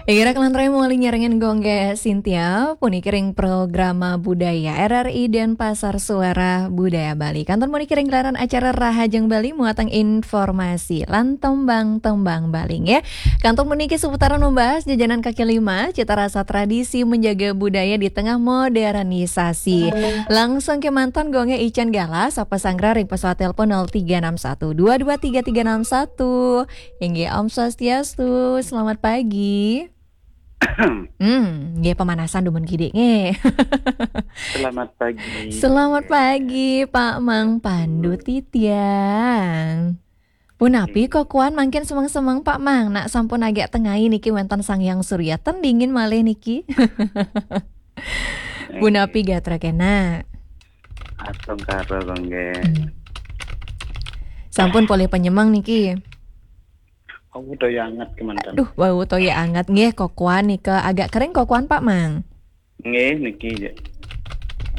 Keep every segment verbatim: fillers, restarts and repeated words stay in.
Irak lan Remo linyarengan gongge Sintia, puniki ring programa budaya R R I Denpasar Suara Budaya Bali. Kantun puniki ring gelaran acara Rahajeng Bali muatang informasi lan tembang-tembang Bali nggih. Kantun puniki seputaran membahas jajanan kaki lima, cita rasa tradisi menjaga budaya di tengah modernisasi. Langsung kemanten gongge Ican Galah, sapa sanggra ring pesawat telepon nol tiga enam satu dua dua tiga tiga enam satu. Inggih, Om Swastiastu, selamat pagi. Hmm, nggih pemanasan dumun kidik nggih. Selamat pagi. Selamat pagi Pak Mang Pandu Titiang. Punapi kokuan mangkin semeng-semeng Pak Mang, nak sampun agak tengai niki wenten Sang Hyang Surya ten dingin malih niki. Punapi gatra kena. Astungkara gongge. Sampun polih penyemeng niki. Oh, udah anget kemanten. Duh, bau toya anget nggih kokuan nika agak kering kokuan Pak Mang. Nggih niki je.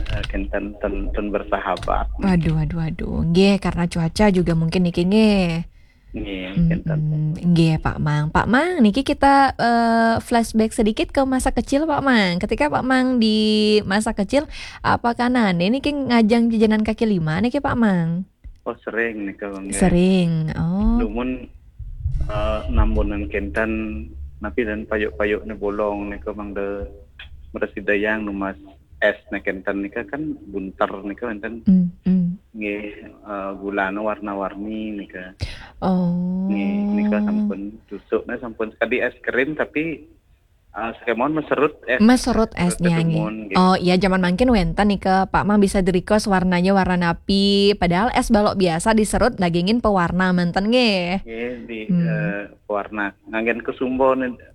Eh, kenten ten, ten bersahabat. Waduh, waduh, waduh. Nggih, karena cuaca juga mungkin niki nggih. Nggih, Mm, kenten. mm, nggih, Pak Mang. Pak Mang, niki kita eh, flashback sedikit ke masa kecil, Pak Mang. Ketika Pak Mang di masa kecil, apakah nane niki ngajeng jajanan kaki lima niki, Pak Mang? Oh, sering nika gongge. Sering. Oh. Dumun eh, nambunan kenten napi dan payuk-payuk ne bolong nika mangda mresidayang numbas es ne kenten nika kan bunter nika wenten Hmm, hmm. nggih eh, gulana warna-warni nika. Oh. Nggih, nika sampun tusuk ne sampun sekadi es krim tapi eh, sekemon meserut es. Meserut esnya nggih. Kedumun, nggih. Oh iya, zaman mangkin wenten nika Pak Mang bisa di-request warnanya warna napi. Padahal es balok biasa diserut dagingin pewarna manten nggih. Nggih, di Hmm. eh, pewarna nganggen kesumbo ne